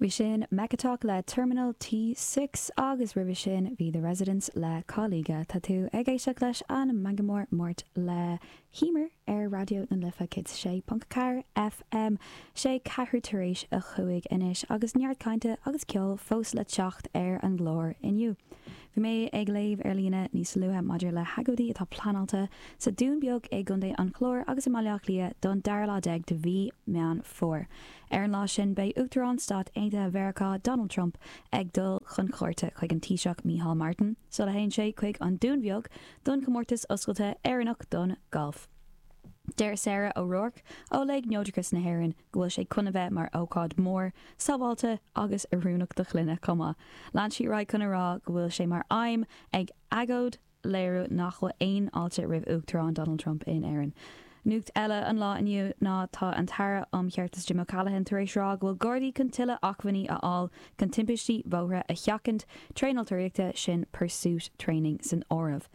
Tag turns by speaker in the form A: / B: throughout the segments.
A: Bhí sin Mechatalk le Terminal T6 agus roimhe sin bhí The Residents le Caliga. Tá tú ag éisteacht leis an Meangadh Mór Máirt le hEmer ar Raidió na Life 106.4 FM. Sé ceathrú tar éis a chúig anois agus neart cainte agus ceoil fós le teacht ar an gclár inniu. Bhí mé ag léamh ar líne níos luaithe maidir le hagóidí atá pleanáilte sa Dún Beag i gContae an Chláir agus i mBaile Átha Cliath don dara lá déag de mhí Meán Fómhair. Ar an lá sin, beidh Uachtarán Stáit Aontaithe Mheiriceá, Donald Trump, ag dul chun cuairte chuig an Taoiseach Micheál Martin, sula théann sé chuig an Dún Bheag don chomórtas oscailte Éireannach don ghalf. Deir Sarah O'Rourke ó Léig Neodrachas na hÉireann go bhfuil sé chun a bheith mar ócáid mhór, sábháilte agus oiriúnach do chlanna chomh maith. Lean sí ar aghaidh chun a rá go bhfuil sé mar aidhm ag agóid léiriú nach bhfuil aon fháilte roimh Uachtarán Donald Trump in Éirinn. Nuacht eile an lá inniu ná tá an tAire um Cheartas Jim O'Callaghan tar éis rá go bhfuil Gardaí chun tuilleadh acmhainní a fháil chun timpistí bhóithre a sheachaint, traenáil tóraíochta, sin pursuit training san áireamh.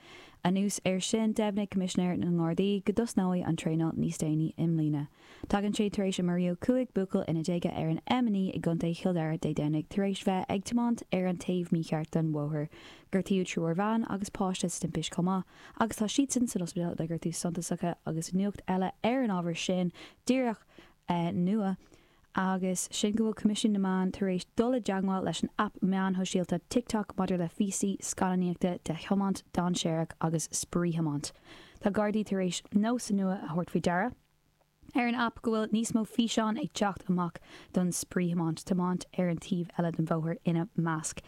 A: Anuas air sin, dheimhnigh Coimisinéir na nGardaí go dtosnóidh an traenáil níos déanaí i mbliana. Tagann sé tar éis a maraíodh 15 buachaill ina déaga ar an M9 i gContae Chill Dara Dé Domhnaigh tar éis bheith ag tiomáint ar an taobh mícheart den bhóthar. Gortaíodh triúr bhean agus páiste sa timpist chomh maith agus tá siadsan san ospidéal le gortú suntasacha agus nuacht eile ar an ábhar sin díreach nua agus sin go bhfuil Coimisiún na Meán tar éis dul i dteagmháil leis an aip meáin shóisialta TikTok maidir le phíosaí scannánaíochta de thiomáint dainséarach agus spraoithiomáint. Tá Gardaí tar éis nós nua a thabhairt faoi deara ar an aip go bhfuil níos mó físeán ag teacht amach don spraoithiomáint, tiomáint ar an taobh eile den bhóthar ina measc.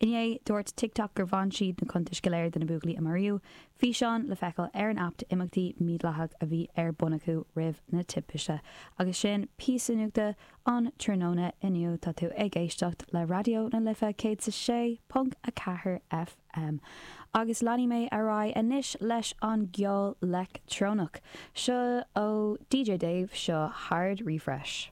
A: Inné, dúirt TikTok gur bhain siad na cuntais go léir de na buachaillí a maraíodh, físeáin le feiceáil ar an aip d'imeachtaí mídhleathach a bhí ar bun acu roimh na timpiste. Agus sin píosa nuachta an tráthnóna inniu. Tá tú ag éisteacht le Raidió na Life 106.4 FM. Agus leanfaidh mé ar aghaidh anois leis an gceol leictreonach. Seo ó DJ Dave, seo Hard Refresh.